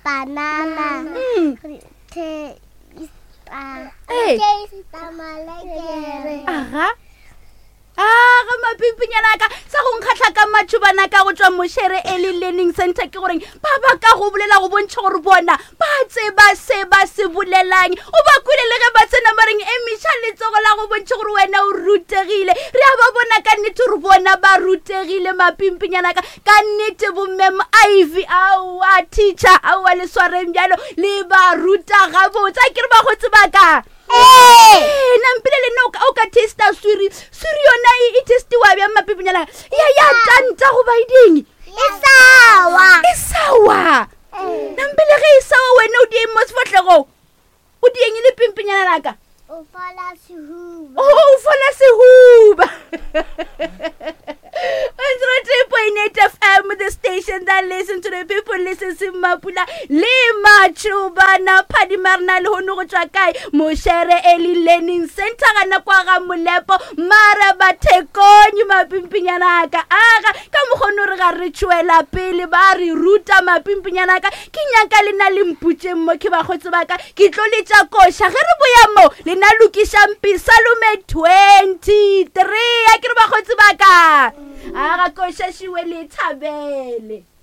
Banana. Mm. Re taste. Ee. Taste malekere. Aga. Aga mapimpinyana ka sa go nkgatlha ka matšhobana ka go tšwa mošere early learning center ke goreng ba ba ka go bolela go bontšha gore bona ba tseba se ba se bolelang o ba kwele le ge ba tsena ba reng emiša letsogo la go bontšha gore wena o rutegile re a ba bona ka nnete gore bona ba rutegile mapimpinyana ka ka nnete bommem ivy aowa teacher aowa le swareng bjalo le ba ruta gabotse a ke re bagotse ba ka ee nampile le nna o ka testa swiri swiri yona e, e testiwa bjang mapipinyana ya ya tanta goba e ding e sawa e sawa nampile ge e sawa wena o dieng mo sefatlhegong O dieng e le pimpinyana laka? O fola sehuba. Oh, o fola sehuba. 103.8 FM, the station that listen to the people, listen to Mapula, le Machubana, Phadimarna, le hono go tšwa kae, Moshere Early Learning Center, gana kwa ga Molepo, mara bathekonyi mapimpinyana aka, aga, ka mokgono re ga re tšwela pele, ba re ruta mapimpinyana aka, ke nyaka le na le mputšeng mo ke bakgotse ba ka ke tlo letša koša ge re boya mo le na lokišang pisalome 23 a ke re bakgotse ba ka a ga koša šiwe le thabele.